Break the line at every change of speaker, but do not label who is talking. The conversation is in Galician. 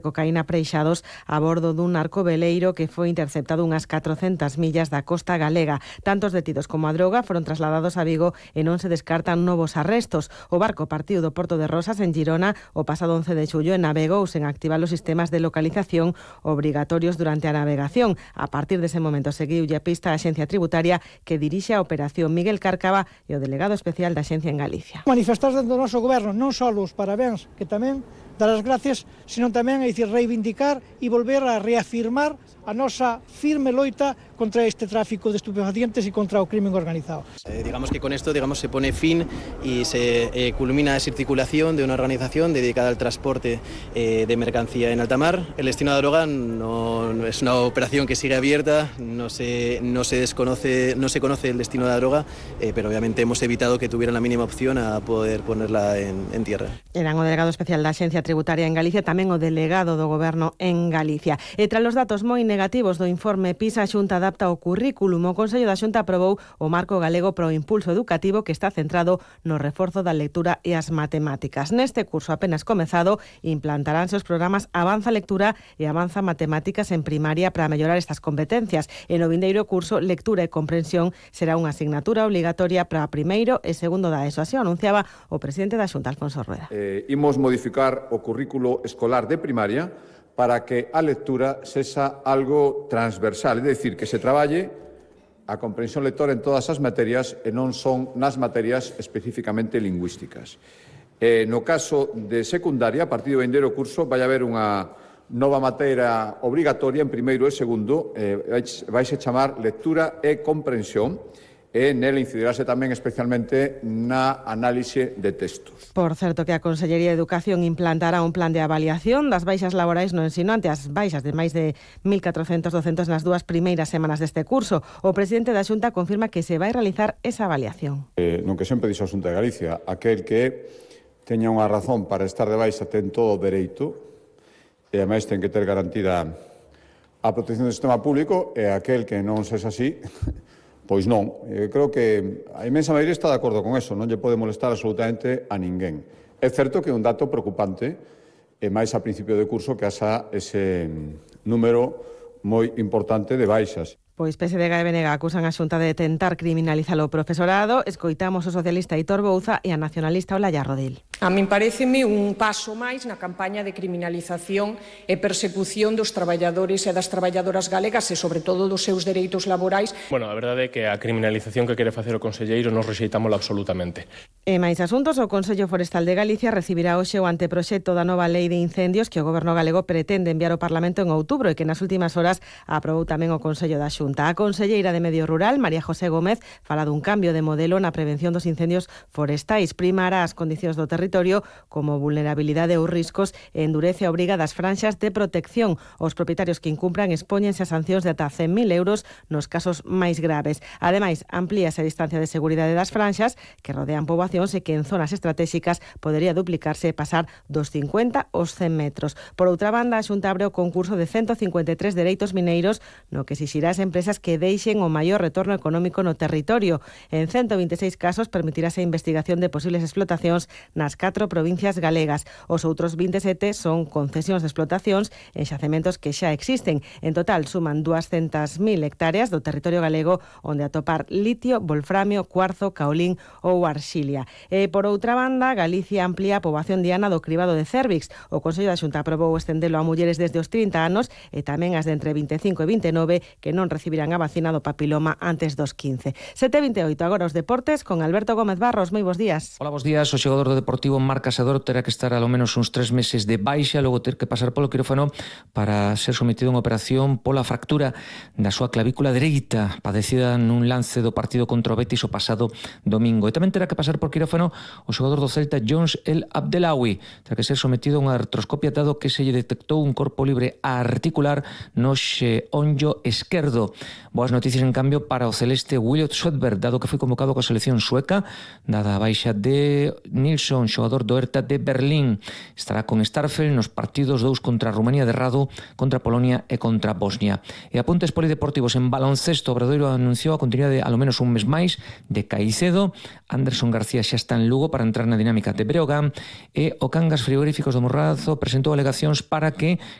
cocaína preixados a bordo dun narco veleiro que foi interceptado unhas 400 millas da costa galega. Tantos detidos como a droga foron trasladados a Vigo e non se descartan novos arrestos. O barco partiu do Porto de Rosas en Girona o pasado 11 de xullo e navegou sen activar os sistemas de localización obrigatorios durante a navegación. A partir dese momento seguiulle a pista a Axencia Tributaria que dirixe a operación Miguel Cárcava e o delegado especial da Axencia en Galicia.
Manifestar dentro do noso goberno non só os parabéns, que tamén dar as gracias, sino tamén reivindicar e volver a reafirmar a nosa firme loita contra este tráfico de estupefacientes y contra el crimen organizado.
Digamos que con esto se pone fin y se culmina esa circulación de una organización dedicada al transporte de mercancía en alta mar. El destino de la droga no es una operación que sigue abierta, no se conoce el destino de la droga, pero obviamente hemos evitado que tuviera la mínima opción a poder ponerla en tierra.
Eran o delegado especial da Axencia Tributaria en Galicia, tamén o delegado do Goberno en Galicia. E tras os datos moi negativos do informe PISA, a Xunta adapta o currículum. O Consello da Xunta aprobou o marco galego pro impulso educativo que está centrado no reforzo da lectura e as matemáticas. Neste curso apenas comezado, implantaránse os programas Avanza Lectura e Avanza Matemáticas en primaria para mellorar estas competencias. E no vindeiro curso, Lectura e Comprensión será unha asignatura obligatoria para primeiro e segundo da ESO. Así o anunciaba o presidente da Xunta, Alfonso Rueda.
Imos modificar o currículo escolar de primaria para que a lectura sexa algo transversal, é dicir, que se traballe a comprensión lectora en todas as materias e non son nas materias especificamente lingüísticas. No caso de secundaria, a partir do vindeiro curso, vai haber unha nova materia obrigatoria en primeiro e segundo, vaise chamar lectura e comprensión, e nela incidirase tamén especialmente na análise de textos.
Por certo que a Consellería de Educación implantará un plan de avaliación das baixas laborais no ensino ante as baixas de máis de 1.400 docentes nas dúas primeiras semanas deste curso. O presidente da Xunta confirma que se vai realizar esa avaliación.
Non que sempre dixo a Xunta de Galicia, aquel que teña unha razón para estar de baixa ten todo o dereito e ademais ten que ter garantida a protección do sistema público e aquel que non sexa así, pois non. Creo que a inmensa maioría está de acordo con eso, non lle pode molestar absolutamente a ninguén. É certo que é un dato preocupante, e máis a principio de curso que haxa ese número moi importante de baixas.
Pois PSDG e BNG acusan a Xunta de tentar criminalizar o profesorado. Escoitamos o socialista Aitor Bouza e a nacionalista Olaya Rodil.
A min paréceme un paso máis na campaña de criminalización e persecución dos traballadores e das traballadoras galegas e, sobre todo, dos seus dereitos laborais.
Bueno, a verdade é que a criminalización que quere facer o conselleiro nos rexeitámola absolutamente.
E máis asuntos, o Consello Forestal de Galicia recibirá hoxe o anteproxecto da nova lei de incendios que o Goberno galego pretende enviar ao Parlamento en outubro e que nas últimas horas aprobou tamén o Consello da Xunta. A conselleira de Medio Rural, María José Gómez, fala dun cambio de modelo na prevención dos incendios forestais. Primará as condicións do territorio como vulnerabilidade ou riscos e endurece a obriga das franxas de protección. Os propietarios que incumpran expóñense a sancións de ata 100.000 euros nos casos máis graves. Ademais, amplíase a distancia de seguridade das franxas que rodean poboacións e que en zonas estratégicas podería duplicarse e pasar dos 50 aos 100 metros. Por outra banda, a Xunta abre o concurso de 153 dereitos mineiros no que exixirá as empresas que deixen o maior retorno económico no territorio. En 126 casos permitirase a investigación de posibles explotacións nas 4 provincias galegas. Os outros 27 son concesións de explotacións en xacementos que xa existen. En total suman 200.000 hectáreas do territorio galego onde atopar litio, wolframio, cuarzo, caolín ou arxilia. E por outra banda, Galicia amplía a poboación diana do cribado de cérvix. O Consello da Xunta aprobou estendelo a mulleres desde os 30 anos e tamén as de entre 25 e 29 que non recibirán a vacina do papiloma antes dos 15. 7:28, agora os deportes con Alberto Gómez Barros. Moi bons días.
Hola, bons días. O xogador do Deportivo Marc Casador terá que estar alo menos uns 3 meses de baixa, logo ter que pasar polo quirófano para ser sometido a unha operación pola fractura da súa clavícula dereita, padecida nun lance do partido contra o Betis o pasado domingo. E tamén terá que pasar por quirófano o xogador do Celta Jones El Abdelawi. Terá que ser sometido a unha artroscopia dado que se lle detectou un corpo libre articular no xeonllo esquerdo. Boas noticias, en cambio, para o celeste Williot Svedberg, dado que foi convocado coa selección sueca, dada a baixa de Nilsson xogador do Hertha de Berlín. Estará con Starfel nos partidos 2 contra Rumanía de Rado, contra Polonia e contra Bosnia. E apuntes polideportivos en baloncesto, Obradoiro anunciou a continuidade alo menos un mes máis de Caicedo. Anderson García xa está en Lugo para entrar na dinámica de Breogán, e o Cangas Frigoríficos do Morrazo presentou alegacións para que